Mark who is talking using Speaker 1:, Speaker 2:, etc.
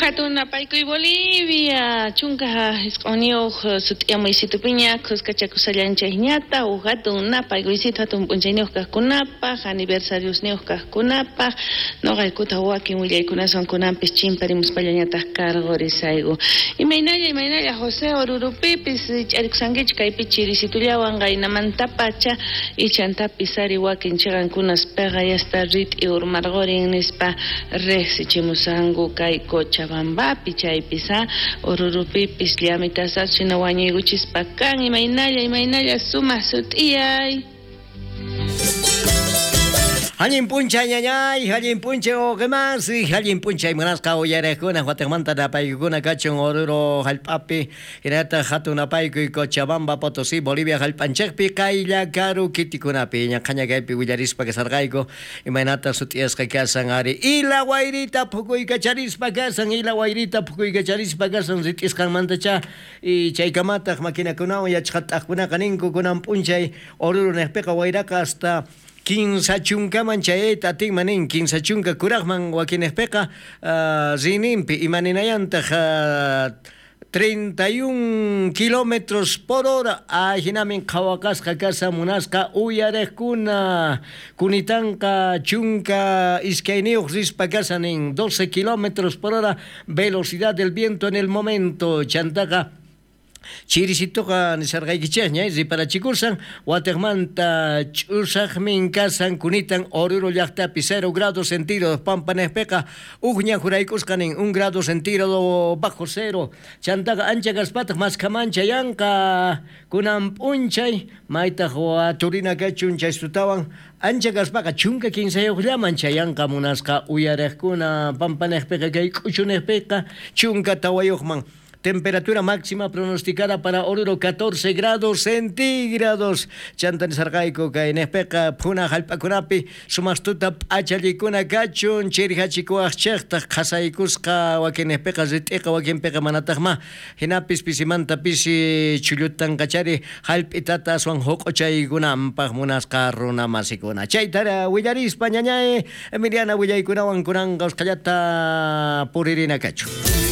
Speaker 1: Hatun napaykuy Bolivia, 19 sut'iyamuysitupiña khuskachakusallanchikñata huk hatun napaykuysitu hatun p'unchayniyuq kaqkunapaq, aniversariosniyuq kaqkunapaq, noqaykuta wakin willaykunaswan kunanpis chimparimuspallañataq karqurisayku. Imaynalla, imaynalla José Orurupipis ch'arikusankichu kaypi chirisitullawan qaynamantapacha ichantapis ari wakin chiqankunas peqayasta rit'i urmarqurin nispa riqsichimusanku kay Cochabambapi chaypis Orurupipis llamitasas hina wañuykuchispa kan imaynalla, imaynalla sumaq sut'iyay.
Speaker 2: Allin p'unchay ñañay, allin p'unchay wawqimasi, allin p'unchay munasqa uyariqkuna watiqmanta napaykukuna kachun Oruro hallp'api, hinallataq hatun napaykuy Cochabamba, Potosí, Bolivia hallp'anchikpi qaylla karu kitikunapi ñaqhaña kaypi willarispa kasarqayku imaynata sut'iyasqa kasan ari ila wayrita phukuykacharispa kasan, ila wayrita phukuykacharispa kasan rit'isqanmantacha y chaykamataq maquinakunawan yachaqat'aqkunaqa ninku kunan p'unchay Oruro niqpiqa wayraqa hasta kinsa chunkaman chayayta atinman nin, kinsa chunka kuraqman wakinejpiqa rininpi imaninayantaq 31 kilómetros por hora ajinamin qhawaqasqa kasa munasqa uyariqkuna kunitanqa chunka iskayniyuq rispa kasa nin 12 kilómetros por hora velocidad del viento en el momento chantaqa chirisituqa nisarqaykichikña riparachikursan watiqmanta ch'usaqmin kasan kunitan Oruro llaqtapi 0 grados centígrados pampanejpiqa ujña juraykusqa nin 1 grado centígrado bajo cero chantaqa ancha kaspataq maskhaman chayanqa kunan p'unchay maytaq waturina kachun chaystutawan ancha kaspaqa chunka kinsayuqllaman chayanqa munasqa uyariqkuna pampanejpiqa kay k'uchunejpiqa chunka tawayuqman. Temperatura máxima pronosticada para Oruro 14 grados centígrados. Chanta nisarqayku kay nejpeqa phuna hallp'akunapi sumaqtuta p'achallikuna kachun chirihachikuwaqchiktaj qhasaykusqa wakinejpeqa rit'iqa wakinpiqa manataqma hinapis pisimanta pisi chullutanqachari hallp'itata aswan huq'uchaykunanpaq munasqa runa masikuna. Chaytara willarispa ñañay Emiliana willaykunawan kunanqa usqhallata puririna kachun.